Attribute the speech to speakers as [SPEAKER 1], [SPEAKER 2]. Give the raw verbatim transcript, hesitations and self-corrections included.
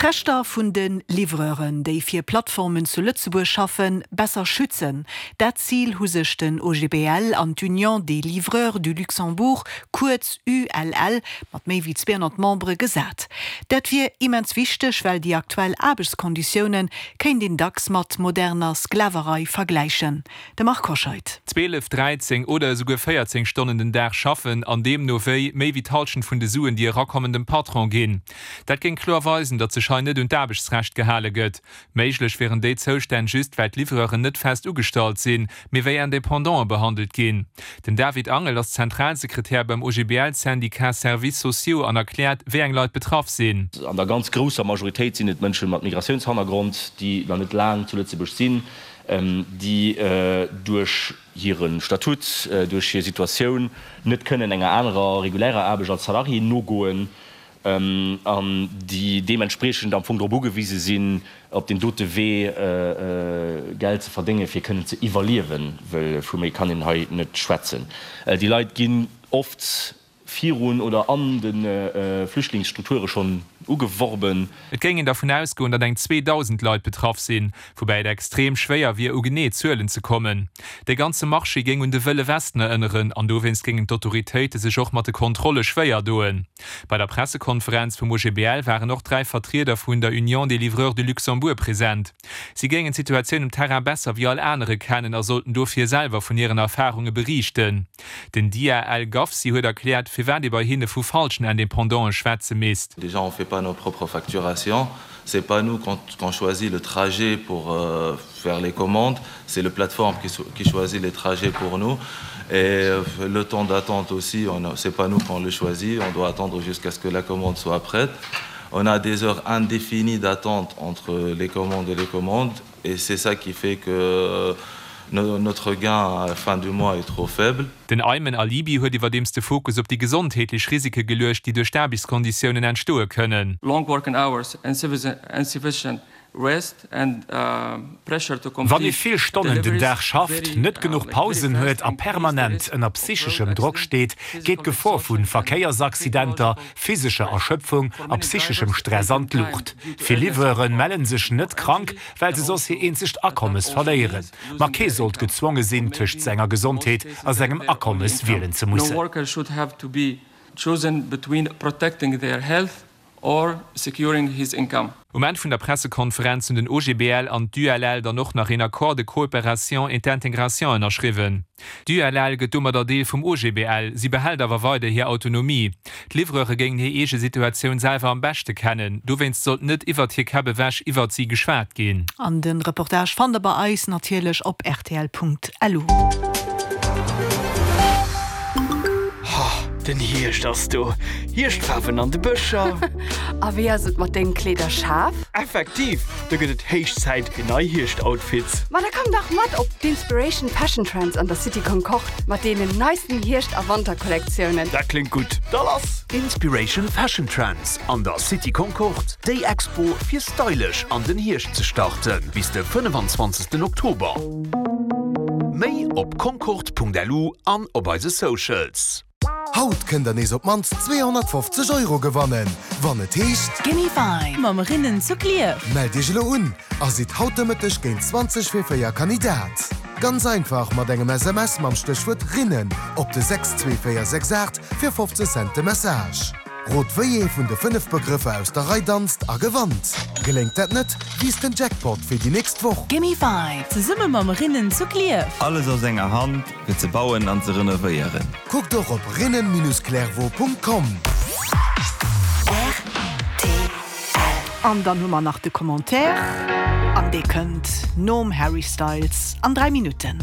[SPEAKER 1] D'Rechter vun de Livreuren, déi fir Plattformen zu Lëtzebuerg schaffen, besser schützen. Dat Zil hu sech den O G B L an d'Union des Livreurs du Luxembourg, kuerz U L L, mat méi wéi zweehonnert Membere gesat. Dat wier immens wichteg, well déi aktuell Aarbechtskonditioune kéint een dacks mat moderner Sklaverei vergläichen. De Marc Hoscheid.
[SPEAKER 2] zwielef, dräizéng oder esouguer véierzéng Stonnen den Dag schaffen, an deemno wéi méi wéi d'Hallschent vun de Suen, déi erakommen, dem Patron ginn. Dat géing kloer weisen, datt sech hei net un d'Aarbechtsrecht gehale gëtt. Méiglech wieren déi Zoustänn just, well d'Livreuren net fest ugestallt sinn, mee wéi Indépendante behandelt ginn. Den David Angel ass Zentralsekretär beim O G B L-Syndicat Services Sociaux an erkläert, wéi eng Leit betraff sinn.
[SPEAKER 3] An der ganz grousser Majoritéit sinn et Mënsche mat Migratiounshannergrond, déi nach net laang zu Lëtzebuerg sinn, déi duerch hire Statut, duerch hir Situatioun net kënnen enger anerer regulärer Aarbecht als Salarié nogoen an déi deementspriechend am Fong drop ugewise sinn, op deem dote Wee Geld ze verdéngen, fir kënnen ze iwwerliewen, well vu méi kann een hei net schwätzen. Déi Leit ginn oft virun oder an de Flüchtlingsstrukture schonn ugeworben.
[SPEAKER 2] Et géing een dervun ausgoen, datt eng zweedausend Leit betraff sinn, woubäi et extrem schwéier wier, u genee Zuelen ze kommen. De ganze Marché géing un de Wëlle Westen erënneren an dowéinst géingen d'Autoritéite sech och mat de Kontrolle schwéier doen. Bei der Pressekonferenz vum O G B L waren och dräi Vertrieder vun der Union des Livreurs du Luxembourg present. Si géingen d'Situatioun um Terrain besser wéi all anere kennen a sollten dofir selwer vun hiren Erfarunge beriichten. Den Dia El Gafsi huet erkläert, firwat ee bei hinne vu falschen Independantë schwätze misst.
[SPEAKER 4] Déjà, on fait pas nos propres facturations. C'est pas nous qu'on qu'on choisit le trajet pour euh, faire les commandes, c'est le plateforme qui, qui choisit les trajets pour nous. Et euh, le temps d'attente aussi, c'est pas nous qu'on le choisit, on doit attendre jusqu'à ce que la commande soit prête. On a des heures indéfinies d'attente entre les commandes et les commandes, et c'est ça qui fait que notre gain à la fin du mois est trop faible.
[SPEAKER 2] Den Aymen Alibi huet iwwerdeems de Fokus op déi gesondheetlech Risike geluecht, déi duerch d'Aarbechtskonditiounen entstoe kënnen.
[SPEAKER 5] Long working hours and insufficient rest and uh, pressure to
[SPEAKER 6] Wann ee vill Stonnen den Dag schafft, net genuch Pausen huet a permanent ënner psycheschem Drock steet, geet d'Gefor vu Verkéiersaccidenter, physescher Erschöpfung a psycheschem Stress an d'Luucht. Vill Livreure melle sech net krank, well se soss hiert eenzegt Akommes verléieren. Ma kee sollt gezwonge sinn, tëscht senger Gesondheet a sengem Akommes wielen ze
[SPEAKER 5] No
[SPEAKER 6] mussen.
[SPEAKER 5] worker should have to be chosen between protecting their health or securing his income.
[SPEAKER 2] Um Enn vun der Pressekonferenz hunn den O G B L an d'U L L dann och nach een Accord de coopération et d'intégration ënnerschriwwen. D'U L L gëtt domadder Deel vum O G B L, si behält awer weider hir Autonomie. D'Livreure géingen hir eege Situatioun selwer am beschte kennen, dowéinst sollt net iwwer hir Käpp ewech iwwer si geschwat ginn.
[SPEAKER 1] An de Reportage fannt der bei eis natierlech op R T L Punkt L U.
[SPEAKER 7] Den Hierscht ass do. Hierschtfaarwen an de Bëscher.
[SPEAKER 8] A wéi ass et mat dengem Kleederschaf?
[SPEAKER 7] Effektiv, do gëtt et héich Zäit fir nei Hierscht-Outfits.
[SPEAKER 8] Ma da komm dach mat op d'Inspiration Fashion Trends an der City Concorde mat deenen neisten Hierscht- a Wanterkollektiounen.
[SPEAKER 7] Dat kléngt gutt. Da lass!
[SPEAKER 9] Inspiration Fashion Trends an der City Concorde, déi Expo fir stylesch an den Hierscht ze starten, bis de fënnefenzwanzegsten Oktober. Méi op concorde Punkt L U an op eise Socials.
[SPEAKER 10] Haut kënnt der nees op d'mannst zweehonnertfofzeg Euro gewannen, wann et heescht
[SPEAKER 11] Gimme Five mam Rinnen zu Klierf.
[SPEAKER 10] Mellt iech elo un a sidd haut de Mëtteg géint zwanzeg vir véier Kandidat. Ganz einfach mat engem S M S mam Stéchwuert Rinnen op de sechs zwee véier sechs aacht fir fofzeg Cent de Message. Rot wéi ee vun de fënnef Begrëffer aus der Rei danzt a gewannt. Geléngt dat net, wiisst den Jackpot fir déi nächst Woch.
[SPEAKER 11] Gimme Five zesumme mam Rinnen zu Klierf.
[SPEAKER 12] Alles aus enger Hand fir ze bauen an ze renovéieren.
[SPEAKER 10] Kuckt och op rinnen Bindestrich clairvaux Punkt com.
[SPEAKER 1] An dann hu mer nach de Commentaire an dee kënnt nom Harry Styles an dräi Minutten.